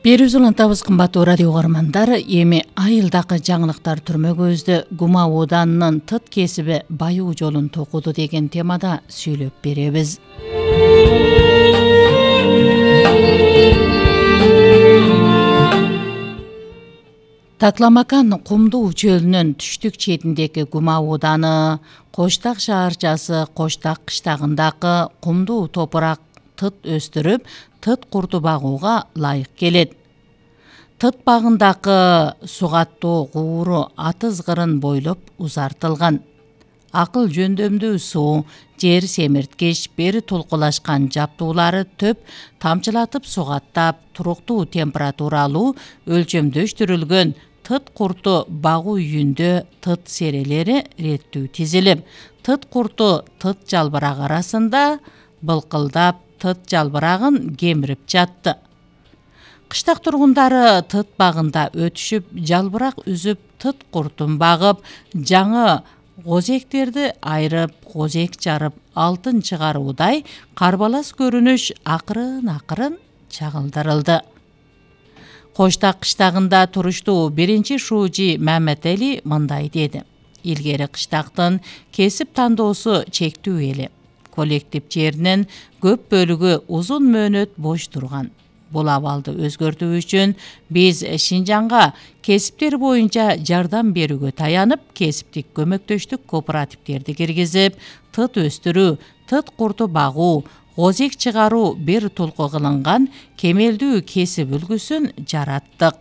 Берүүбүз улантабыз, кымбаттуу радио угармандар. Эми айылдакы жаңылыктар түрмөгүбүздө Гума ооданынын тыт кесиби байуу жолун токуду деген темада сүйлөп беребиз. Такламакан кумдуу чөлүнүн түштүк четиндеги Гума ооданы, Коштак шаарчасы Коштак кыштагындагы кумдуу топурак тыт өстүрүп, тыт курду багууга ылайык келет. Тыт багындагы сугаттуу кууру атыз кырын бойлоп узартылган. Акыл жөндөмдүү суу, жер семирткич, бери толкулашкан жаптуулары төп тамчылатып сугаттап, туруктуу температуралуу өлчөмдөштүрүлгөн тыт курту багуу үйүндө тыт серелери реттүү тизилип, тыт курту тыт жалбырак арасында былкылдап, тыт жалбырагын кемирип жатты. Кыштак тургундары тыт багында өтүшүп, жалбырак үзүп, тыт куртун багып, жаңы гозектерди айрып, гозек жарып, алтын чыгаруудай карбалас көрүнүш акырын чагылдырылды. Коштак кыштагында туруштуу биринчи шуужи Маматели мындай деди: илгери кыштактын кесип тандоосу чектүү эле. Коллектив жеринин көп бөлүгү узун мөөнөт бош турган. Бул абалды өзгөртүү үчүн биз Шинжаңга кесиптер боюнча жардам берүүгө таянып, кесиптик көмөктөштүк кооперативдерди киргизип, тыт өстүрүү, тыт курту багуу, гозек чыгаруу бир толку кылынган кемелдүү кесип үлгүсүн жараттык.